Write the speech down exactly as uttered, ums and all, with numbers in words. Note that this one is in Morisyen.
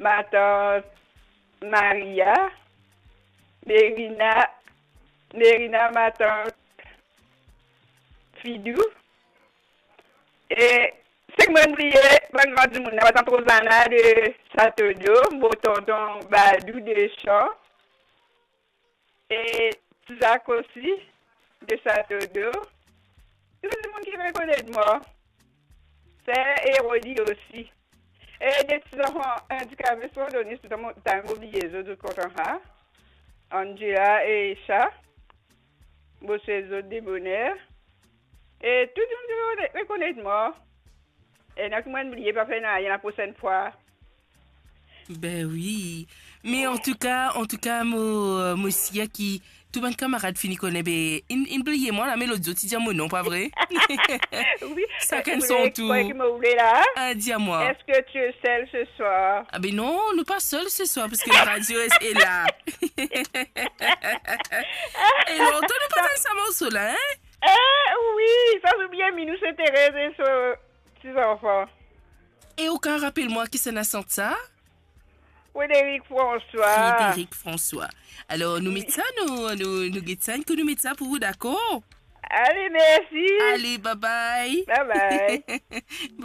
matant Maria, Merina, Merina matant Fidou, e seki mo'nn bliye, bann gran dimoun, matant Rozana de Satodo, mo tonton Badou de Chan, e Tizak osi, de Satodo. Tou dimoun ki rekonet mwa, Ser Eroli osi. E de ti zanfan andikape, sirtou, sirtou mo, tann mo bliye zot, zot kontan sa. Angela e Esha, mo swet zot de boner. E tou dimoun ki rekonet, rekonet mwa. E ena ki mo'nn bliye, pa fer nanye, laprosenn fwa. Ben wi. Me antouka, antouka, mo, mo sir ki tou bann kamarad fini kone, be, inn, inn bliye mwa la, me lot zour ti dir mo non, pa vre? Wi, Sakenn eh, son tour. Ki mo vle la? Ah, dir mwa. Est-ce que tu es seule ce soir? Ah ben non, nou pa sel se swar, paske la radio est, est la. E lontan nou pa tann sa morso la, hein? Eh wi, sa se bien, Minou, se Thérèse e so ti zanfan. E ou kav rapel mwa kisannla sant sa? Frédéric François. Frédéric François. Alor, nou met sa, nou, nou, nou get sa, nou met sa pou ou, dakor? Ale, mersi. Ale, bye bye. Bye bye.